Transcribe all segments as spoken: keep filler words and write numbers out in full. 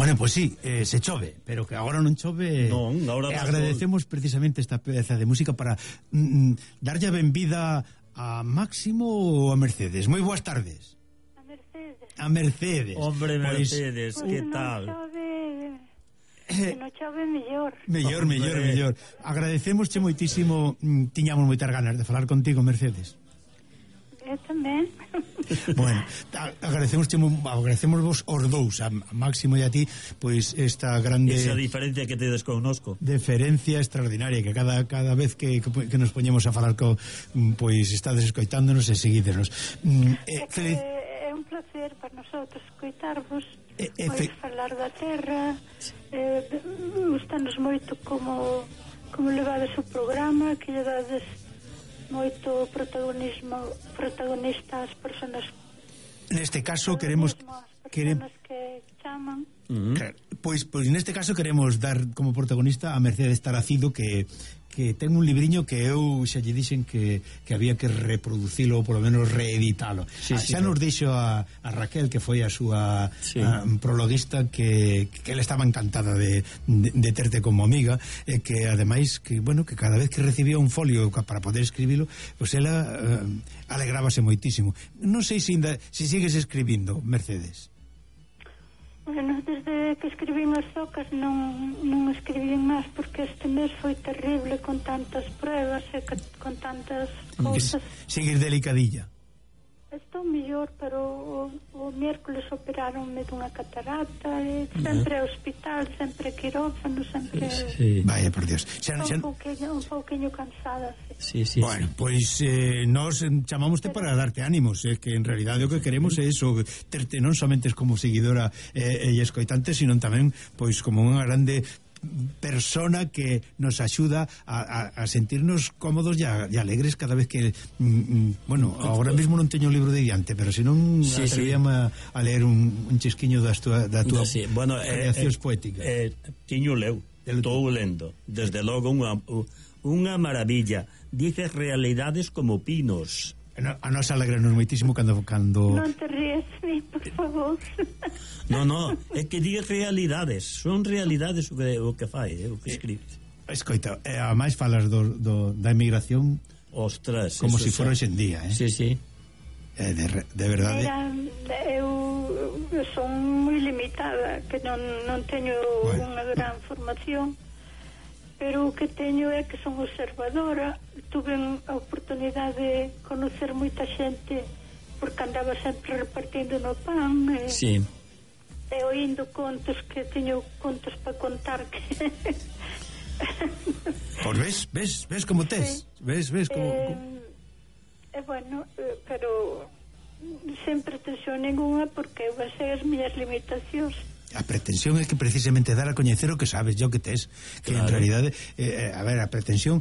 Bueno, pois pues sí, eh, se chove, pero que agora non chove. Non, agora eh, agradecemos sol. Precisamente esta peza de música para mm, darlle a benvida a Máximo ou a Mercedes. Moi boas tardes. A Mercedes. A Mercedes. Hombre, Mercedes, pues, que pues tal? Non chove, que non chove mellor. Mellor, mellor, mellor. Agradecemosche moitísimo, mm, tiñamos moitas ganas de falar contigo, Mercedes. Eu tamén. Bueno, agradecemos agradecemos vos os dous, a Máximo e a ti, pois esta grande esa diferencia que tedes connosco, deferencia extraordinaria, que cada cada vez que, que, que nos poñemos a falar co, pois estades escoitándonos e seguídenos. Eh, é, que é un placer para nosotros escoitarvos, eh, eh, pois falar da terra, eh, gustanos moito como como levades o programa, que lle dades moito protagonismo protagonista ás persoas. Neste caso queremos queremos que chaman. Uh-huh. Claro, pois pois neste caso queremos dar como protagonista a Mercedes Taracido, que que ten un libriño que eu xa lle dixen que, que había que reproducilo ou polo menos reeditalo. Sí, ah, sí, xa sí. nos dixo a, a Raquel, que foi a súa sí. a, prologuista, que, que ela estaba encantada de, de, de terte como amiga, e que ademais que, bueno, que cada vez que recibía un folio para poder escribilo, pois pues ela uh, alegrábase moitísimo. Non sei se, inda, se sigues escribindo, Mercedes. Bueno, desde que escribín as zocas non, non escribín máis, porque este mes foi terrible con tantas pruebas e con tantas cousas. Seguir delicadilla. Estou mellor, pero o, o miércoles operaronme dunha catarata, e sempre uh-huh. hospital, sempre quirófano, sempre... Sí. Vaya, por Dios. Xa, xa... Un, pouquinho, un pouquinho cansada, Sí, sí. sí, bueno, pois pues, eh, nos chamamoste pero... para darte ánimos, eh, que en realidade o que queremos é eso, terte non somente como seguidora eh, e escoitante, sino tamén pois como unha grande persona que nos axuda a, a, a sentirnos cómodos e, a, e alegres cada vez que mm, bueno, agora mesmo non teño o libro de diante, pero se non sí, atrevíame sí. a, a ler un, un chisquiño da tua, da tua sí. bueno, creacións eh, poéticas. Eh, tiño leu, estou lendo, desde logo unha, unha maravilla. Dices realidades como pinos. A nos alegranos moitísimo cando cando non te ríes, ni, por favor. No, no, é que digas realidades, son realidades o que, o que fai, eh, o que escribes. Escoita, eh, a máis falas do, do, da emigración, ostras, como se si fora hoxe en día, eh? Sí, sí. Eh, de, de verdade. Mira, eu, eu son moi limitada, que non, non teño bueno. unha gran formación, pero o que teño é que son observadora. Tuve a oportunidade de conocer moita xente, porque andaba sempre repartindo no pan e, sí. e oindo contos, que teño contos para contar que... Pois ves, ves, ves como tes, sí. ves, ves como... E, eh, bueno, eh, pero sen pretensión ninguna, porque eu sei as miñas limitacións. A pretensión é que precisamente dar a coñecer o que sabes, yo que tes, que claro. En realidade eh, a ver, a pretensión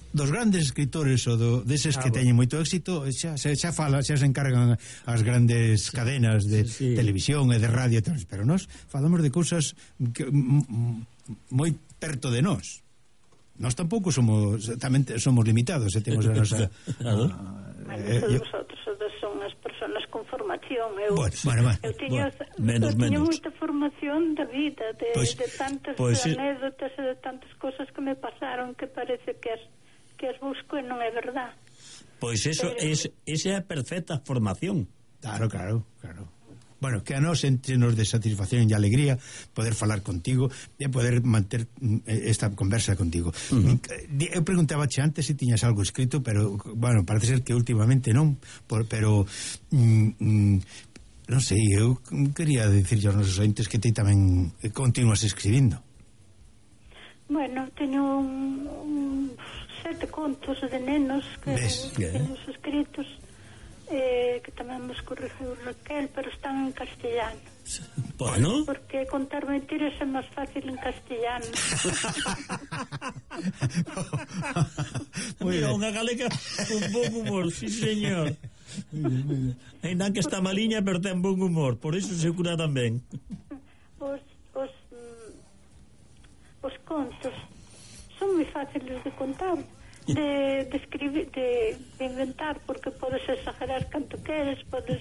dos grandes escritores ou do, deses ah, que bueno. teñen moito éxito, xa, xa, xa fala, xa se encargan as grandes sí. cadenas de sí, sí. televisión e de radio, pero nós falamos de cousas que, m, m, moi perto de nós. Nós tampouco somos, tamén somos limitados, e temos a nosa claro. a, eh, todos vosotros son as persoas con formación. Eu, bueno, bueno, bueno, eu tiño, bueno, menos, eu tiño menos. moita formación da vida, de, pues, de tantas pues, anécdotas e de tantas cosas que me pasaron que parece que as, que as busco e non é verdad. Pois eso, pero, es, esa é a perfecta formación. Claro, claro, claro. Bueno, que a nos entrenos de satisfacción e alegría poder falar contigo e poder manter esta conversa contigo. Uh-huh. Eu preguntabache antes se tiñas algo escrito, pero, bueno, parece ser que últimamente non, por, pero mm, mm, non sei, eu quería dicir aos nosos ointes que ti tamén continúas escribindo. Bueno, teño un, un sete contos de nenos que teño escritos, eh, que tamén nos corrigiu Raquel, pero están en castellano. Bueno, porque contar mentiras é máis fácil en castellano. Mira, unha galega con bon humor, sí señor. Ainda que está maliña, pero ten bon humor, por iso se cura tamén. Os, os, os contos son moi fáciles de contar, de, de escribir, de, de inventar, porque podes exagerar canto queres, podes...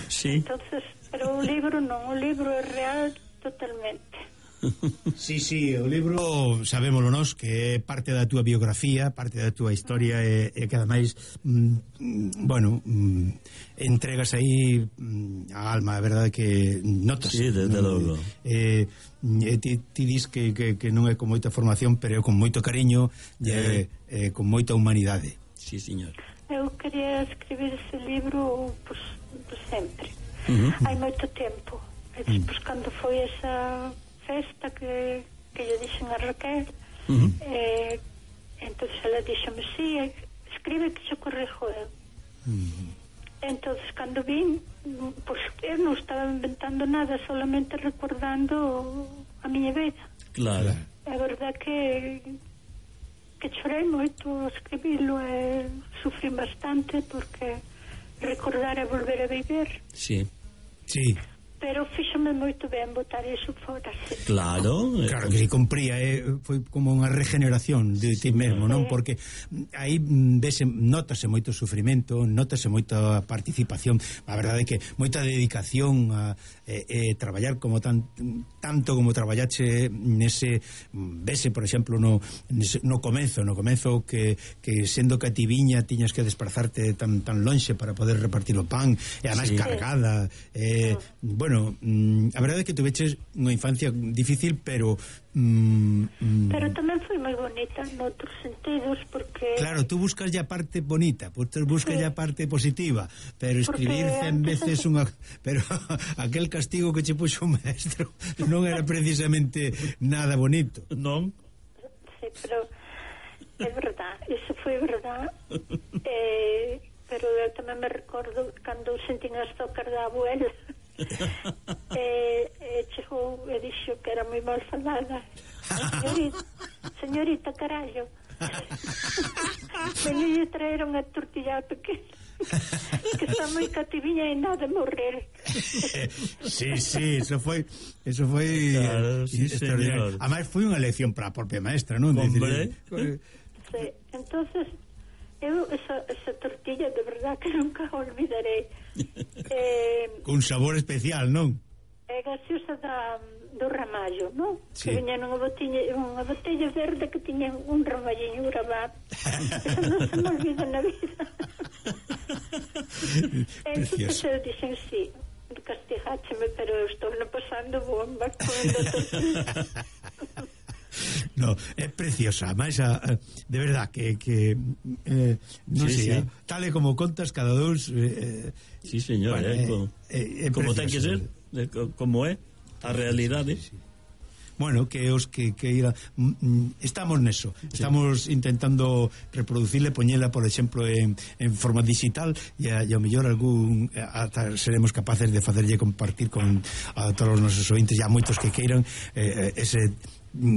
Sí. Entonces, pero o libro non, o libro é real, totalmente. Sí, sí, o libro sabémoslo nós que é parte da túa biografía, parte da túa historia e, e que ademais mm, bueno, mm, entregas aí mm, a alma, a verdade que notas. Sí, desde no, logo. Eh, eh, ti, ti dis que, que, que non é con moita formación, pero é con moito cariño e eh. eh, con moita humanidade. Sí, señor. Eu quería escribir ese libro pues, pues sempre. Uh -huh. Hai moito tempo. E despois, cando foi esa festa que, que yo dixen a Raquel, uh -huh. eh, entonces ela dixome, sí, escribe que xo correjo eu. Uh -huh. Entonces, cando vin, pues eu non estaba inventando nada, solamente recordando a miña vida. Claro. É verdad que que chorei moito a escribilo e sufrí bastante porque recordar é volver a viver. Sí. Sí. Pero fíxome moito ben botar iso fora, sí. Claro, claro que se compría, eh, foi como unha regeneración de ti mesmo, non? Porque aí vese, notase moito sufrimento, notase moita participación, a verdade é que moita dedicación a eh, eh, traballar como tan, tanto como traballache nese, vese, por exemplo, no, nese, no comezo, no comezo que, que sendo cativiña tiñas que desplazarte tan, tan lonxe para poder repartir o pan, e además sí. cargada, eh, bueno, Bueno, mm, a verdade é que tuveches unha infancia difícil, pero mm, pero tamén foi moi bonita noutros sentidos, porque claro, tú buscas ya parte bonita, pues tú buscas sí. ya parte positiva, pero escribir cen veces de... unha pero aquel castigo que che puxo o maestro non era precisamente nada bonito. Non? Sí, pero é verdad, iso foi verdad. eh, pero eu tamén me recordo cando sentín as tocas da abuela e, e chegou e dixo que era moi mal falada. Señorita, señorita, carallo, venille traer unha tortilla pequena que está moi cativiña e nada morrer. Sí, sí, eso foi eso foi claro, sí, extraordinario. Además foi unha lección para a propia maestra, non? Hombre. Sí, entonces eu esa, esa tortilla de verdad que nunca olvidarei. Eh, con sabor especial, non? É gaseosa da, do ramallo, non? Sí. Que viña nunha botella, unha botella verde que tiña un ramalliño gravado. Eso non se me olvida na vida. Entonces eu dixen, sí, castigácheme, pero eu estou no pasando bomba con a tortilla. No, é preciosa, máis a, a, de verdad que, que eh, non sí, sei, sí. tal e como contas cada dous eh, sí, señor, bueno, eh, como, eh, como ten que ser, eh, como é a realidade. Sí, sí. Bueno, que os que, que ira, mm, estamos neso, sí. Estamos intentando reproducirle, poñela, por exemplo, en, en forma digital e a, e ao mellor algún ata seremos capaces de facerlle compartir con a todos os nosos ointes, e a moitos que queiran eh, ese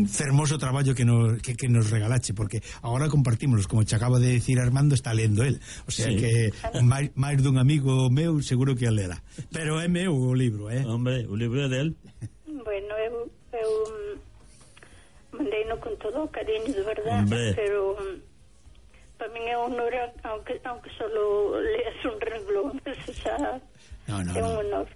fermoso traballo que nos, que, que nos regalache, porque agora compartímoslos, como te acaba de decir Armando, está lendo el, o sea sí. que máis, máis dun amigo meu seguro que el lerá, pero é meu o libro, eh? Hombre, o libro é del. Bueno, eu, eu mandei no con todo o cariño, de verdade. Hombre. Pero para min é un honor, aunque, aunque solo leas un renglón, eso xa no, no, é un no. honor.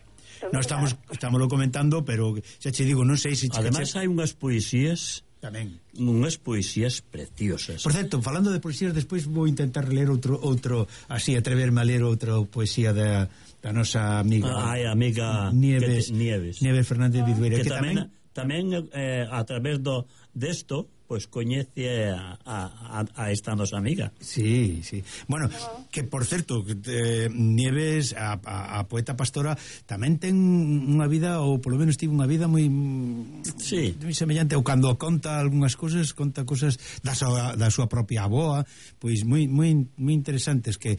No estamos estámoslo comentando, pero xa che digo, non sei se che ademais hai unhas poesías tamén, unhas poesías preciosas. Por certo, falando de poesías, despois vou intentar ler outro outro así, atreverme a ler outra poesía da, da nosa amiga ah, ai, amiga Nieves, te, Nieves Nieves Fernández Vidueira, que, que tamén tamén, tamén eh, a través do desto pois coñece a, a, a esta nosa amiga. Sí, sí. Bueno, que por certo, eh, Nieves, a, a, a poeta pastora, tamén ten unha vida, ou polo menos tivo unha vida moi sí. moi semellante, ou cando conta algunhas cousas, conta cousas da súa, da súa propia avoa, pois moi moi moi interesantes, que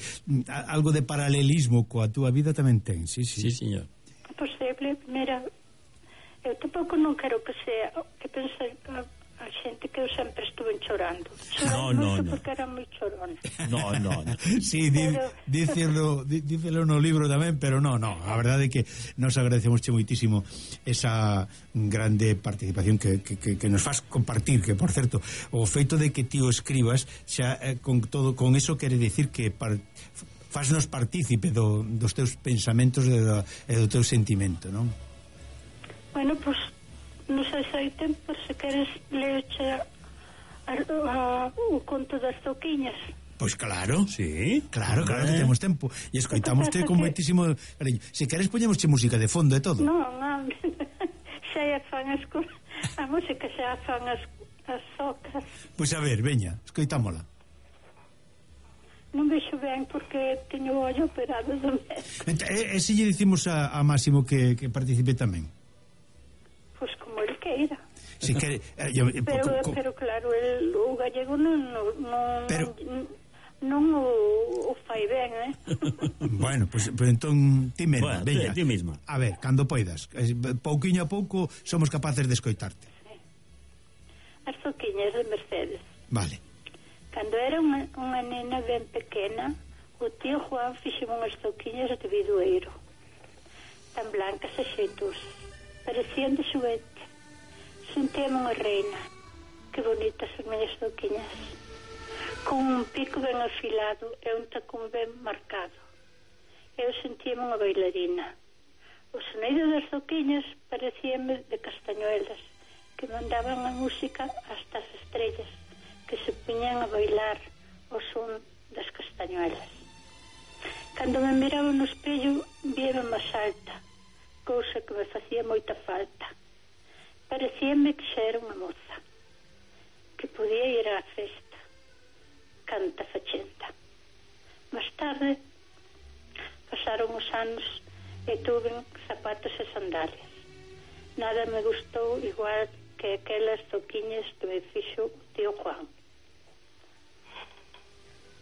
a, algo de paralelismo coa túa vida tamén ten, sí, sí. Sí, señor. Posible, mira, eu tampouco non quero que sea, que pense a xente que eu sempre estuve chorando. Chorando no, no, no. porque era moi chorona. No, no, no. Sí, di, pero... dícelo, di, dícelo no libro tamén, pero no, no, a verdade é que nos agradecemos che moitísimo esa grande participación que, que, que, que nos faz compartir, que por certo, o feito de que ti o escribas xa eh, con todo, con eso quere decir que par, faznos partícipe do, dos teus pensamentos e do, e do teu sentimento, non? Bueno, pois pues, non sei se hai tempo, se queres leche a, a, o conto das zoquiñas. Pois claro, sí, claro, claro que temos tempo. E escoitámoste con moitísimo cariño. Se queres poñemosche música de fondo e todo. Non, non, xa é fan as a música, xa fan as, as socas. Pois a ver, veña, escoitámola. Non vexo ben porque teño o ollo operado do mes. E, e se lle dicimos a, a Máximo que, que participe tamén? Pois como el queira. Si quere, eh, yo, pero, co, co, pero claro, el, o gallego non, non, non, pero, non o, o fai ben, eh? Bueno, pois pues, pues, entón ti mesma, bueno, veña. Ti mesma. A ver, cando poidas, pouquiño a pouco somos capaces de escoitarte. Sí. As zoquiñas de Mercedes. Vale. Cando era unha, unha nena ben pequena, o tío Juan fixeme unhas zoquiñas de bidueiro, tan blancas e xeitosas, parecían de xuguete. Sentíame unha reina. Que bonitas as miñas zoquiñas, con un pico ben afilado e un tacón ben marcado. Eu sentíame unha bailarina. O sonido das zoquiñas parecíame de castañuelas que mandaban a música hasta as estrellas, que se puñan a bailar o son das castañuelas. Cando me miraba no espello, víame máis alta, cousa que me facía moita falta. Parecíame que xa era unha moza, que podía ir á festa, canta fachenta. Más tarde, pasaron os anos e tuve zapatos e sandalias. Nada me gustou igual que aquelas zoquiñas que me fixo o tío Juan.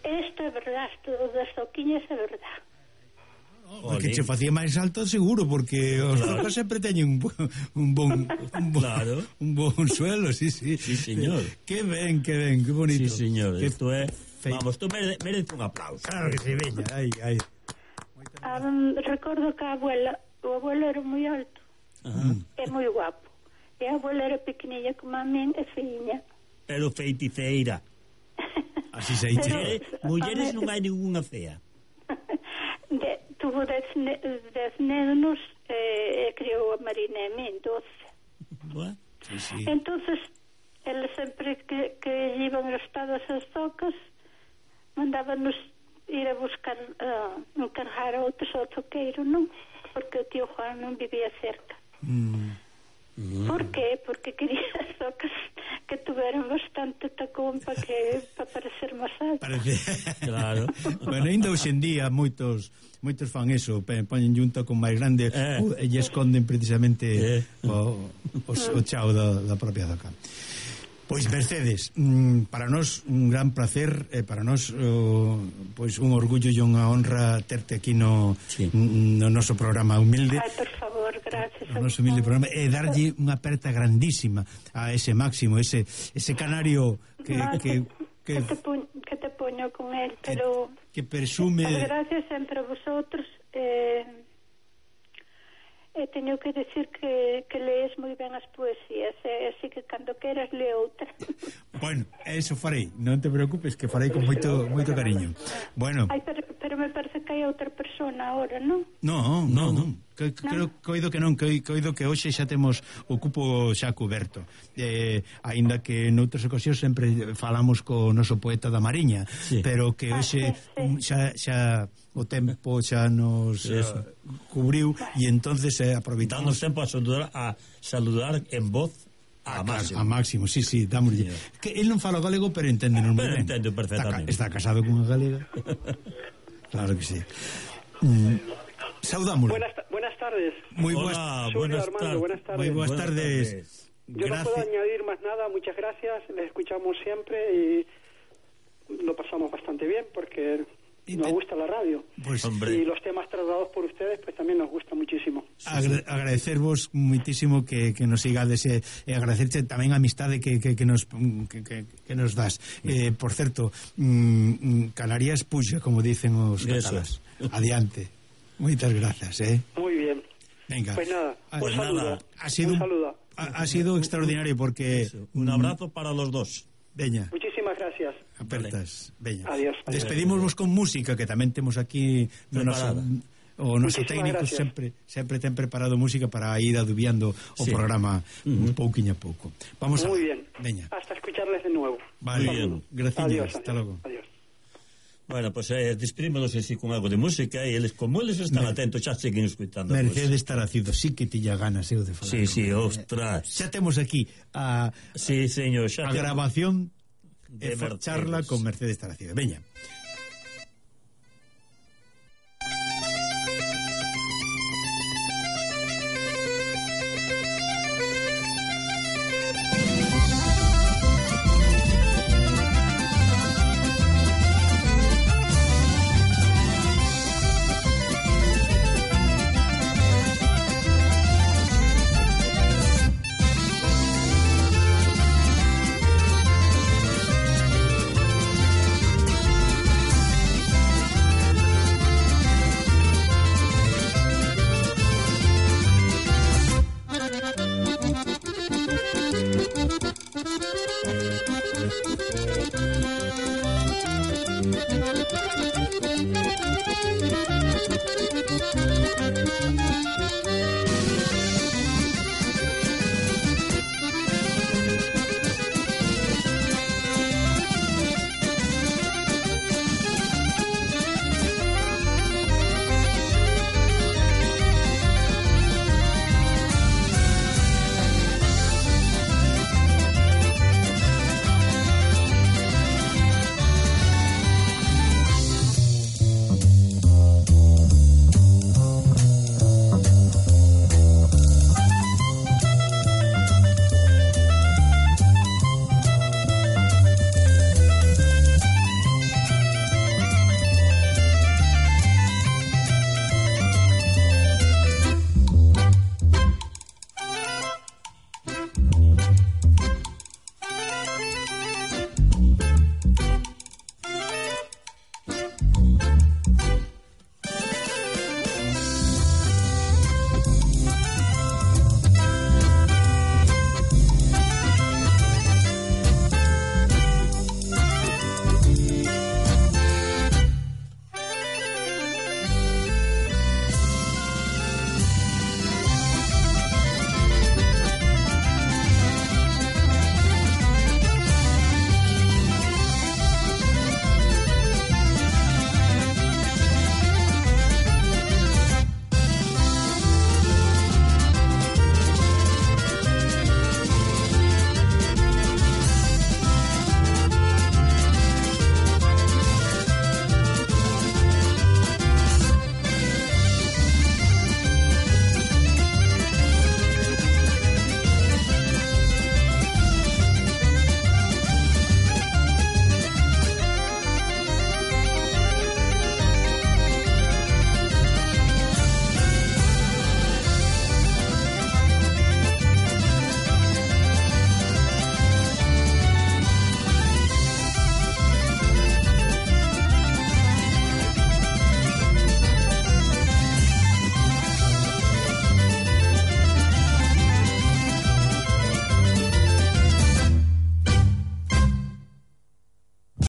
Isto é verdade, o das zoquiñas é verdade. O que che facía máis alto seguro, porque os claro. Zocas sempre teñen un, un bon un bon, claro. un bon suelo, sí, sí. Sí, señor. Que ben, que ben, que bonito. Sí, señor. Que Isto é, fe... vamos, tú merece, merece un aplauso. Claro que sí, veña, aí, aí. Um, recordo que a abuela, o abuelo era moi alto. Ajá. É moi guapo. E a abuela era pequenilla como a min e feiña. Pero feiticeira. Así se dice. Mulleres, mulleres non hai ninguna fea. De, tuvo dez, ne, dez nenos e, e criou a Marina e min, doce. Bueno, sí, sí. Entonces, ele sempre que, que iban gastadas as zocas, mandábanos ir a buscar, uh, encargar a outros ao zoqueiro, non? Porque o tío Juan non vivía cerca. Mm. Mm. Por qué? Porque quería as zocas que tuveran bastante tacón para que para parecer máis alto. Parece. Claro. Bueno, ainda hoxe en día moitos moitos fan eso, poñen junto con máis grande eh. uh, e esconden precisamente eh. o, o, o chao da, da propia zoca. Pois Mercedes, mm, para nós un gran placer, e para nós uh, pois un orgullo e unha honra terte aquí no, sí. no noso programa humilde. Ai, por favor, gracias. No noso humilde programa, e darlle unha aperta grandísima a ese Máximo, ese ese canario que no, que que, que, te puño, que te poño con él, pero que, que presume. Gracias sempre a vosotros. Eh, E teño que decir que, que lees moi ben as poesías, e así que cando queras lee outra. Bueno, eso farei, non te preocupes, que farei con moito moito cariño. Bueno. Ai, pero, pero me parece que hai outra persona agora, non? No, no, non. Que, creo que oído que non, que, que oído que hoxe xa temos o cupo xa coberto. Eh, aínda que noutras ocasións sempre falamos co noso poeta da Mariña, sí. Pero que hoxe ah, sí, sí. xa xa o tempo xa nos uh, cubriu e entonces eh, aproveitamos. Damos tempo a saludar, a saludar en voz a, a Máximo. A Máximo, sí, sí, dámoslle. Yeah. Que el non fala galego, pero entende non moi ben. Entendo perfectamente. Está, está casado con unha galega. Claro que sí. Mm, saudámoslo. Buenas, buenas tardes. Muy Hola, buenas, buenas, Armando, buenas tardes. Muy buenas, buenas tardes. tardes. Yo gracias. No puedo añadir más nada, muchas gracias. Les escuchamos siempre y lo pasamos bastante bien porque nos gusta la radio. Pues, y los temas tratados por ustedes pues también nos gusta muchísimo. Agra agradecervos muitísimo que, que nos sigades e, e agradecerche tamén a amistade que, que, que, nos, que, que, que nos das. Eh, por certo, mm, Canarias puxa, como dicen os catalás. Adiante. Moitas grazas, eh. Muy bien. Venga. Pues nada, pues un saludo. nada. Ha sido un saludo. Ha, ha sido extraordinario porque... Eso. Un abrazo para los dos. Veña. Muchísimas gracias. Apertas, veña. Adiós. Despedímosvos con música que tamén temos aquí no noso, o noso técnico sempre sempre ten preparado música para ir adubiando o sí. programa uh -huh. un pouquiño a pouco. Vamos a... Muy bien. Veña. Hasta escucharles de nuevo. Vale, muy bien. Gracias. Hasta logo. Adiós. Bueno, pues eh, despedímonos así con algo de música e eles, como eles están Mer atentos, xa seguen escuitando. Mercedes pues. Taracido, sí que tilla ganas eu de falar. Sí, sí, ostras. Xa temos aquí a, sí, señor, xa a grabación de e charla con Mercedes Taracido. Veña.